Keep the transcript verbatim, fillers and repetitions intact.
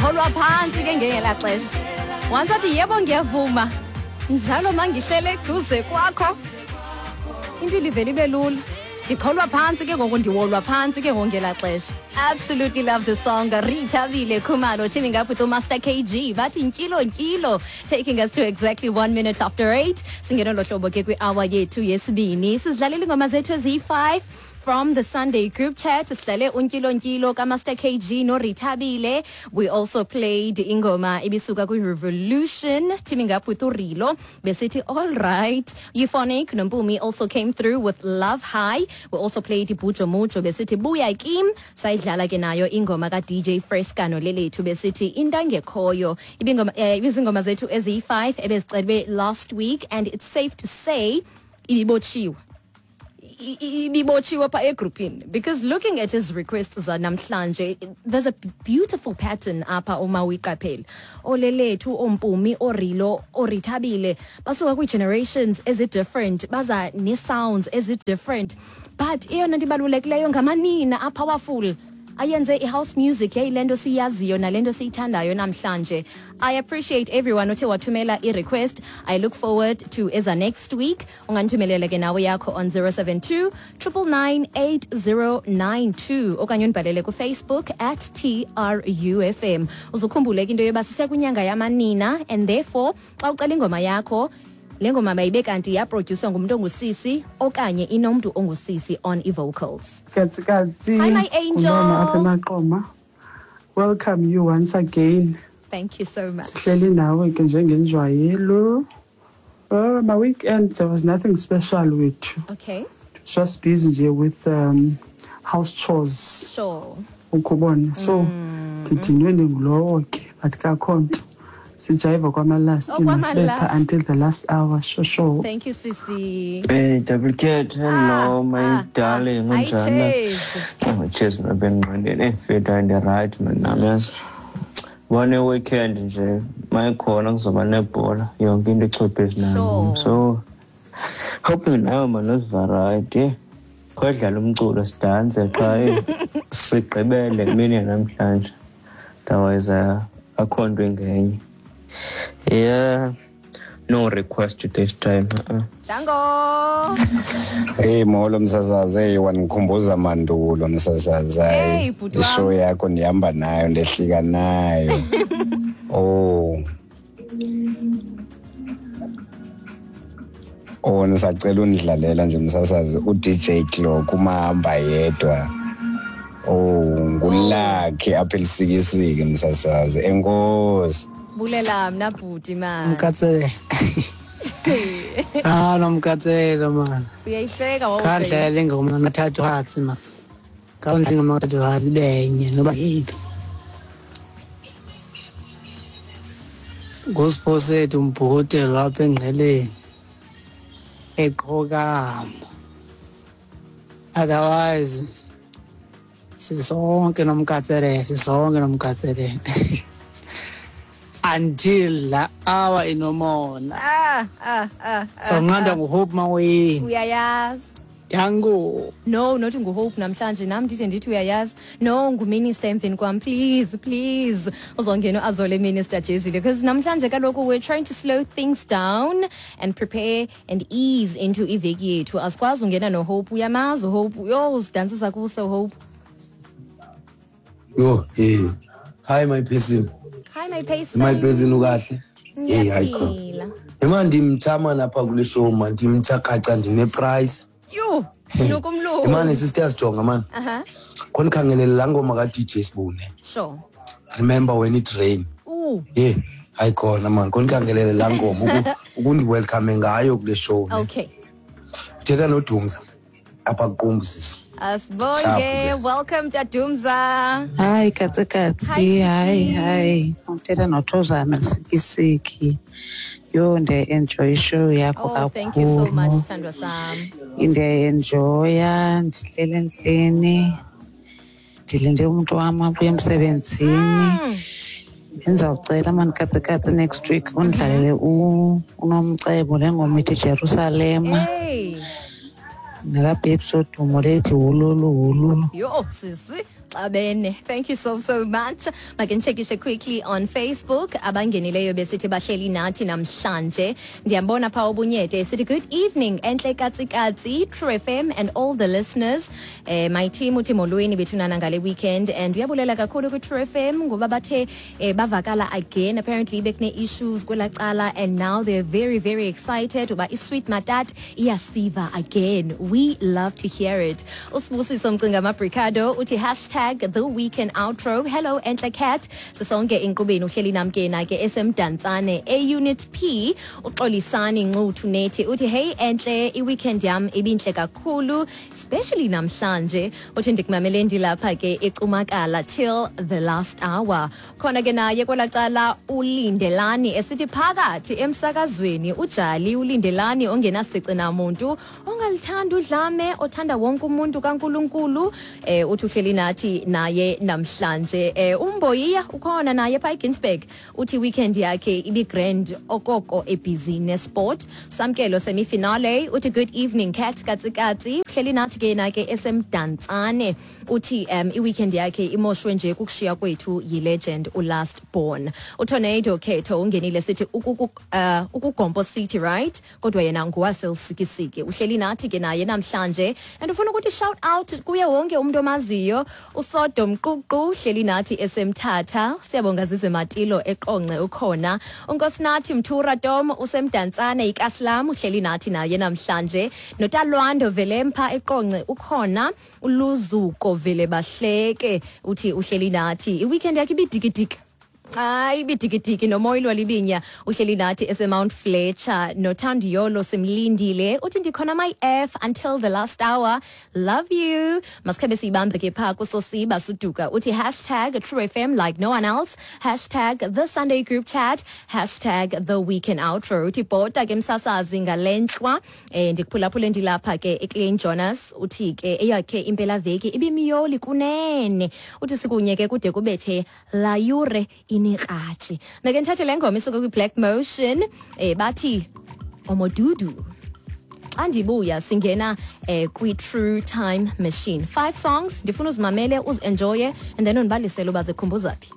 Ndicholwa phantsi ke ngelaa xesha. Once athi yebo ngiyavuma, njalo mangihlele eduze kwakho, impilo ivele ibe lula. Ndicholwa phantsi ke ngoku, ndiwolwa phantsi ke ngoku ngelaa xesha. Absolutely love the song. Rethabile Khumalo teaming up with Master K G. Bathi ntyilo ntyilo, taking us to exactly one minute after eight. Singena lo hlobo ke kwi-hour yethu yesibini. Sizidlalela iingoma zethu eziyi-five from the Sunday group chat. Sihlale untyilo ntyilo kaMaster K G noRethabile. We also played ingoma ibisuka kwi-Revolution teaming up with uRilo. Besithi all right. Euphonic noMpumi also came through with Love High. We also played Ibujo Mujo besithi Buya Kim. Sayidlala ke nayo ingoma ka D J Fresca noLelethu besithi Intangekhoyo. Ibingoma, eh, ibizingoma zethu eziyi-five ebezicelwe last week, and it's safe to say ibibotshiwe. Ibibotshiwe pha egrupini, because looking at his requests zanamhlanje, there's a beautiful pattern apha uma uyiqaphela. Olelethu, oMpumi, oRilo, oRethabile basuka kwii-generations ezi-different, baza nee-sounds ezi-different, but eyona nto ibalulekileyo ngamanina a-powerful ayenze i-house music yayile nto siyaziyo nale nto siyithandayo namhlanje. I appreciate everyone othe wathumela i-request. I look forward to eza next week. Ungandithumelela ke nawe yakho on zero seven two, triple nine, eight zero nine two okanye undibhalele kuFacebook at T R U F M. Uzukhumbule ke into yoba sisekwinyanga yamanina, and therefore xa ucela ingoma yakho, le ngoma mayibe kanti yaprodyuswa ngumntu ongusisi okanye inomntu ongusisi on i-vocals. Katsi, katsi. Hi, my angel. Ngumama apha eMaqoma. Welcome you once again. Thank you so much. Sihleli nawe ke njengenjwayelo. Oh, my weekend, there was nothing special with you. Okay. Just busy nje with, um, house chores. Sure. Ukubona. So, ndidinwe ndingulowo ke, but kakho nto. Sijayiva kwamalast, Oh, kwamalast. masibetha until the last hour, sure, sure. Thank you, sisi. Hey, Double Cat, hello, Ah, my ah, darling. ah. Hi, Unjani? Cheers. Oh, cheers, my ben ngqondeni. Eh, mfethu, ndi right, man, nami yazi. One weekend nje, mayikhona kuzoba nebhola, yonke into ichwepheshe nayo. Sure. So, hoping nawe man uziva right, eh. Khodlala umculo sidanse qha, eh, sigqibele imini namhlanje. Otherwise, uh, akho nto ingenye. Yeah, no request this time. Uh-uh. Dango. Hey, molo msasazi, hey, wangikhumbuza mandulo msasazi. Hey, bhuti wam. Ishow yakho ndihamba nayo, ndehlika nayo. Oh. Oh, nisacela undidlalela nje msasazi, u-D J Clock umahamba yedwa. Oh, ngulakhe apha elisikisiki msasazi. Enkosi. Bulela mna bhuti man. Mkatsele. Ah, nomkatsele man. Uyayihleka wawubheka. Khandlela ingoma nathathu hatsi man. Khandlela ingoma nathathu hatsi benye noba yiphi. Ngusiphosethu umbhuti lapha engqeleni. Eqhokama. Otherwise sisonke nomkatsele, sisonke nomkatsele. Until la hour inomona. Ah, ah, ah, ah, So nqanda ah. nguHope Maweni. Uyayazi. Dango. No, not nguHope namhlanje, nam ndide ndithi uyayazi. No, nguminister emveni kwam, please, please. Uzongena uAzole Minister Jezile, because namhlanje kaloku we're trying to slow things down and prepare and ease into iveki yethu. Asikwazi ungena noHope, uyamazi uHope. Yo, usidansisa kuso Hope. Yo, hey. Hi my person. Hi my person. My person ukahle. Hey, hayi cha. Ngiyaphila. Ema ndimtha man apha kule show man, ndimtha kaca ndine price. Yho, nokumlungu. Imane sister sijonga man. Aha. Khona khangelela la ngoma ka D J Sibune. Sure. Remember when it rain. Ooh. Yeah, hayi khona man, khona khangelela la ngoma uku-, ukundi welcome ngayo kule show. Ne? Okay. Thetha noDumza apha kuQumbu sisi. Asibonge. Sharp, Welcome Tadumza. Hi katsi katsi. Hi, Hi, sisi. hi. Uthetha noThozama Lisikisiki. Yho, ndiyayi-enjoy ishow yakho Oh, thank you so much, kakhulu. sithandwa sam. Ndiyayi-enjoya, ndihleli endlini. Ndilinde umntu wam abuye emsebenzini. Mm. Ndizawucela mani katsi katsi next week undlalele u-, uNomcebo le ngoma ithi Jerusalema. Hey. NekaBabes Wodumo lethi Wululu Wululu. Yho, sisi, Baxabene. Thank you so so much. Make ndichekishe quickly on Facebook abangenileyo besithi bahleli nathi namhlanje. Ndiyambona pha ubunyete sithi good evening enhle katsikatsi True F M and all the listeners. Eh my team uthi molweni bethunana ngale weekend and uyabulela kakhulu ku True F M ngoba bathe eh, bavakala again. Apparently bekune issues kwelacala and now they're very very excited uba iSweet Matat iyasiva again. We love to hear it. Usibusiso Mcinga Mabricado uthi hashtag the weekend outro. Hello enhle cat, sisonke inkqubeni, uhleli nam ke na ke esemdantsane e-Unit P. Uxolisani Ncuthu nethi uthi hey enhle, i-weekend yam ibinhle kakhulu, especially namhlanje. Uthi ndikumamele ndilapha ke ecumakala till the last hour. Khona ke naye kwelacala uLindelani esithi phakathi emsakazweni ujali uLindelani ongenasici namuntu, ongalithanda udlame, othanda wonke umuntu kaNkuluNkulu. eh uthi uhleli nathi naye namhlanje. eh umboyiya ukhona naye pha eGinsberg, uthi weekend yakhe ibi grand okoko ebusy nesport. Samkelo semifinale uthi good evening cat katsikatsi, uhleli nathi ke na ke esemdantsane. Uthi um i-weekend yakhe imoshwe nje kukushiya kwethu yi-legend uLast Born. UTornado Khetho ungenile sithi ukuku uh, ukugompo city right, kodwa yena nguwaseLusikisiki, uhleli nathi ke naye namhlanje and ufuna ukuthi shout out kuye wonke umuntu omaziyo. USodom Ququ uhleli nathi esemthatha. Siyabonga Zize Matilo eqonce ukhona. UNkosinathi Mthura Tom usemdantsane ikaslam, uhleli nathi naye namhlanje. Notalwando Velempha eqonce ukhona. Uluzuko vele bahleke uthi uhleli nathi, i-weekend yakhe ibidikidiki. Hayi, ibidikidiki. Nomoyilo Libinya uhleli nathi ese-Mount Fletcher. Nothandiyolo simlindile uthi ndikhona my F until the last hour, love you. Masikhabe siyibambe ke phaa kusosiba suduka uthi hashtag True F M like no one else, hashtag the Sunday group chat, hashtag the weekend outro. Uthi bhota ke msasazi ngalentlwa, um ndikuphulaphule ndilapha ke eClean Jonas. Uthi ke eyakhe impelaveki ibimyoli kunene. Uthi sikunye ke kude kubethe la yure inekratshi. Make ndithathe le ngoma isuka kwi-Black Motion, um bathi Omodudu. Xa ndibuya singena eh, kwi-True Time Machine, five songs ndifuna uzimamele, uzi-enjoye and then undibalisele uba zikhumbuza phi.